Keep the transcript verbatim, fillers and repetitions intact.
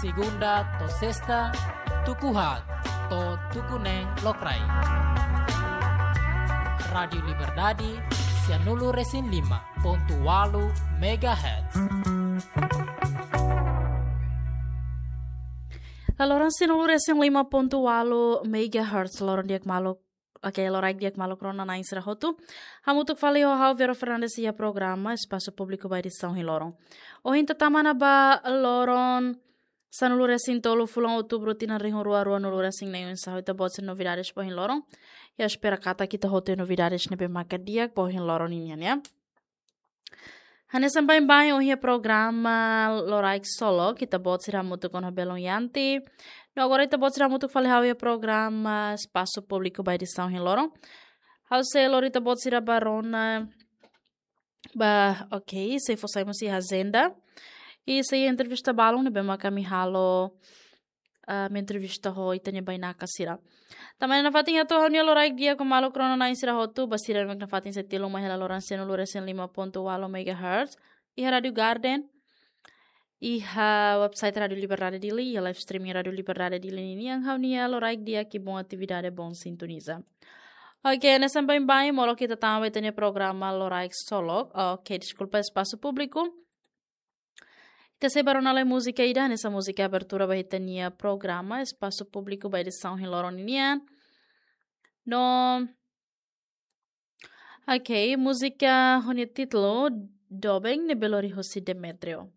Segunda to'o sesta, tuku haat to'o tuku neen lokraik. Rádiu Liberdade, sianulu-resin-lima pontu ualu megahertz. Laloran sianulu-resin-lima pontu ualu megahertz, loron di'ak maluk. Oke, loraik di'ak maluk rona-na'in sira hotu. Hamutuk fali ho ha'u Vero Fernandes iha programa Espasu Públiku ba edisaun ohin loron. Ohin ita tama ona ba loron sanulu-resin-tolu fulan Outubru tinan rihun rua ruanulu-resin-neen, oinsá ita-boot sira novidades ba ohin loron. Ha'u espera katak ita hotu iha novidades ne'ebé maka di'ak ba ohin loron ninian, ya. Hanesan baibain ohin iha programa Loraik Solok, ita-boot sira hamutuk ona ho belun Yanti. No agora ita-boot sira hamutuk fali ho ha'u iha programa Espasu Públiku ba edisaun ohin loron. Ha'u sei lori ita-boot sira ba rona ba, oke, sei fó sai mós iha ajenda. I sei entrevista balun ne'ebé maka ami halo, ah, ami entrevista ho ita-nia bainaka sira. Tanba ne'e nafatin hato'o ha'u-nia loraik di'ak ba maluk rona-na'in sira hotu, ba sira ne'ebé nafatin sei tilun mai hela loran sianulu-resin-lima pontu ualu megahertz iha Rádiu Garden, iha website Rádiu Liberdade Dili, iha live streaming Rádiu Liberdade Dili ninian. Ha'u-nia loraik di'ak i boa atividade, boa sintoniza. Oke, hanesan baibain molok ita tama ba ita-nia programa Loraik Solok. Oke, deskulpa, Espasu Públiku. Ita sei ba rona lai múzika ida, hanesan múzika abertura ba ita-nia programa Espasu Públiku ba edisaun ohin loron ninian. No, oke, múzika ho nia títulu Doben, ne'ebé lori husi Demetrio.